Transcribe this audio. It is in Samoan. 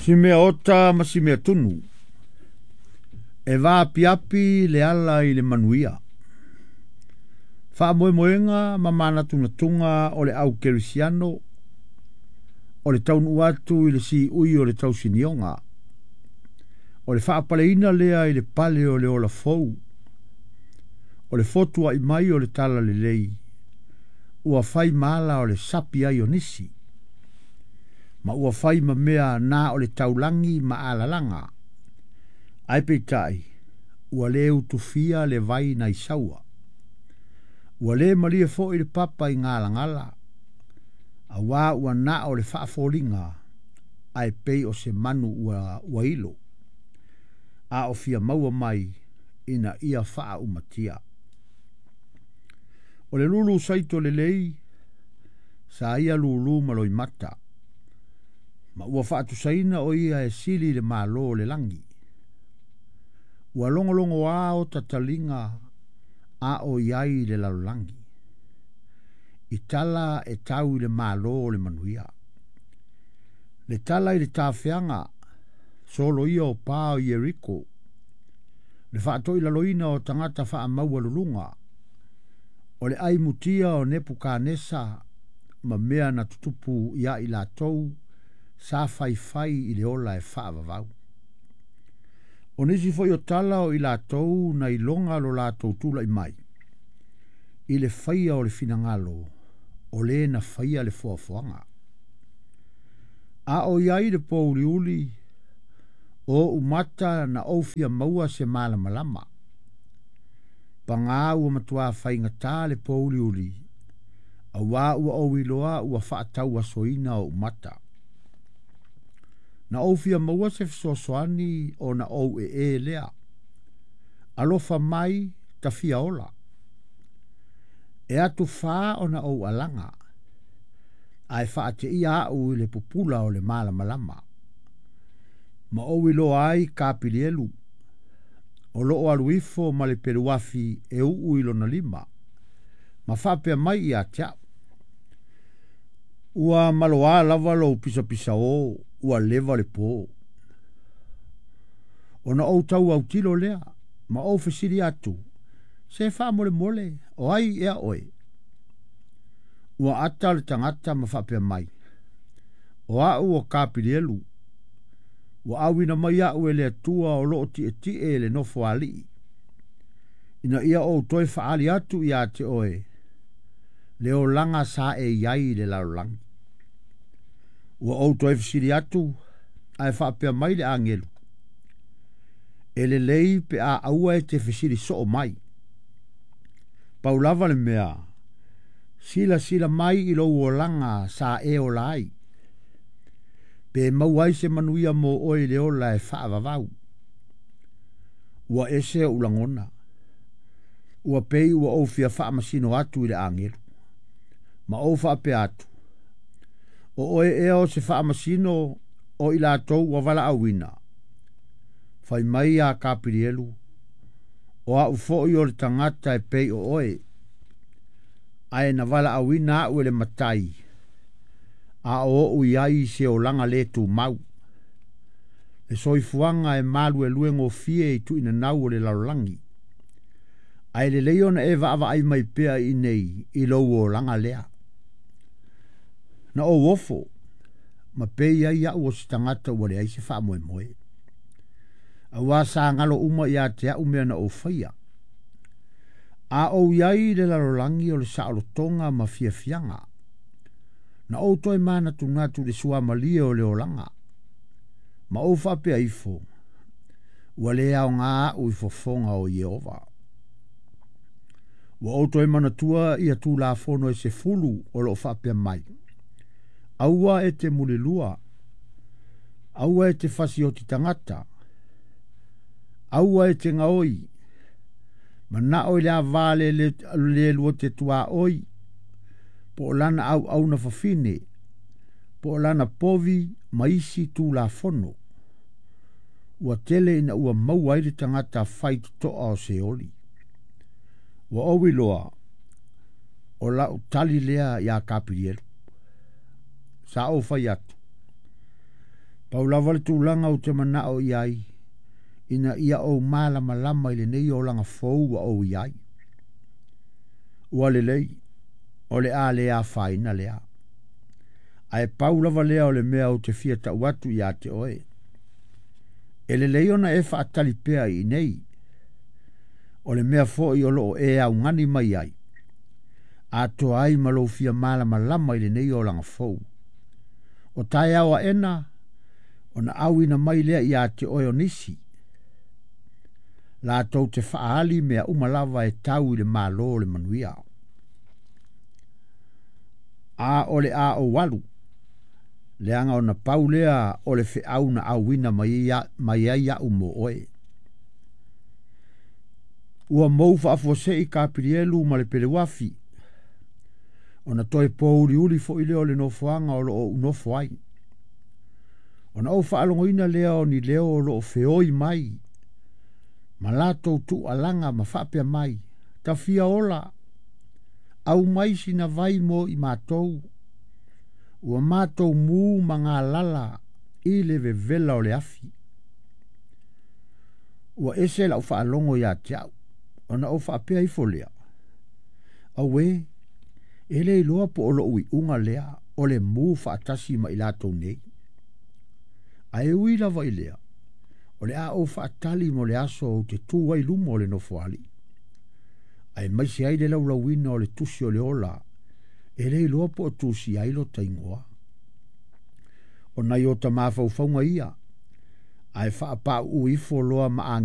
Si mea ota ma si mea tunu. E vaapiapi le ala i le manuia. Faamoemoega ma manatunatuga o le au kerisiano o le taunuu atu i le siui o le tausinioga. O le faapaleina lea i le pale o le ola fou. O le fotuai mai o le talalelei ua fai ma ala o le sapi ai o nisi. Ma ua fai ma mea na o le taulagi ma alalaga. Ae peitai, ua le utufia le vai nai saua. Ua le malie foi le papa i galagala. Auā ua na o le faafoliga ae pei o se manu ua ilo. A o fia maua mai ina ia faaumatia. O le lulu saito lelei, sa ia lulu ma loimata. Ma ua faatusaina o ia e sili i le Malo o le lagi. Ua logologoā ota taliga a o i ai i le lalolagi, i tala e tau i le Malo o le manuia. Le tala i le tafeaga, soloia o pa o Ieriko, le faatoilaloina o tagata faamaualuluga, o le ai mutia o Nepukanesa ma mea na tutupu ia i latou sa faifai i le ola e faavavau. O nisi foi o tala o i latou na iloga lo latou tulai mai i le faia o le finagalo o le na faia le foafoaga. A o i ai le pōuliuli o ou mata na ou fia maua se malamalama. Pagā ua matuā faigata le pōuliuli, auā ua ou iloa ua faatauasoina ou mata. Na ou fia maua se fesoasoani ona ou ee lea. Alofa mai ta fia ola. E atufā ona ou alaga, ae faateia au i le pupula o le malamalama. Ma ou iloa ai Kapilielu, o loo alu ifo ma le peluafi e uu i lona lima, ma faapea mai ia te au. Ua maloā lava lou pisapisaō ua leva le pō. Ona ou tau autilo lea, ma ou fesili atu, Se faamolemole, o ai ea oe? Ua ata le tagata ma faapea mai, O au o Kapilielu, ua auina mai au e le Atua o loo tietie i le nofoalii, ina ia ou toe faaali atu ia te oe le olaga sa e i ai i le lalolagi. Ua ou toe fesili atu, ae faapea mai le agelu, E lelei pe a aua e te fesili soo mai. Pau lava le mea, silasila mai i lou olaga sa e ola ai, pe maua ai se manuia mo oe i le ola e faavavau. Ua ese ou lagona. Ua pei ua ou fia faamasino atu i le agelu, ma ou faapea atu, O oe ea o se faamasino o i latou ua valaauina? Fai mai ia Kapilielu, O au foi o le tagata e pei o oe, ae na valaauina au e le Matai, a o ou i ai i se olaga le tumau. Le soifuaga e maluelue gofie i tuuinanau o le lalolagi, ae lelei ona e vaavaai mai pea i inei i lou olaga lea. Na ou ofo, ma pei ai au o se tagata ua leai se faamoemoe. Auā sa galo uma ia te au mea na ou faia. A ou i ai i le lalolagi o le saolotoga ma fiafiaga, na ou toe manatunatu i le suamalie o le olaga, ma ou faapea ifo, Ua le aoga au i fofoga o Ieova. Ua ou toe manatua ia Tulafono e sefulu o lo o faapea mai, Aua e te mulilua, aua e te fasioti tagata, aua e te gaoi, manao i le ava le le lua te tuaoi, po o lana auauna fafine, po o lana povi ma isi Tulafono. Ua tele ina ua maua ai le tagata faitotoa o Seoli. Ua ou iloa, o lau tali lea iā Kapilielu. Sa ou fai atu, Pau lava le tulaga ou te manao i ai, ina ia ou malamalama i lenei olaga fou ua ou i ai. Ua lelei, o le a le afaina lea. Ae pau lava lea o le mea ou te fia tau atu ia te oe. E lelei ona e faatali pea i inei. O le mea foi o loo e augani mai ai, atoa ai ma lou fia malamalama i lenei olaga fou. O taeao aena, ona auina mai lea ia te oe o nisi, latou te faaali mea uma lava e tau i le malo o le manuia. A o le a ou alu, leaga ona pau lea o le feau na auina mai ai au mo oe. Ua mou faafuasei Kapilielu ma le Peleuafi, ona toe pouliuli foi lea o le nofoaga o loo ou nofo ai. Ona ou faalogoina lea o ni leo o loo feoi mai, ma latou tuualaga ma faapea mai, tafia ola, au mai sina vai mo i matou, ua matou mu ma galala i le vevela o le afi. Ua ese lau faalogo ia te au, ona ou faapea ifo lea, auē, e le iloa po o lou iuga lea o le mu faatasi ma i latou nei. Ae ui lava i lea, o le a ou faatali mo le aso ou te tu ai luma o le nofoalii, aemaise ai le laulauina o le tusi o le ola, e le iloa po o tusia ai lota igoa. O nai o ta mafaufauga ia, ae faapauu ifo loa ma agiga.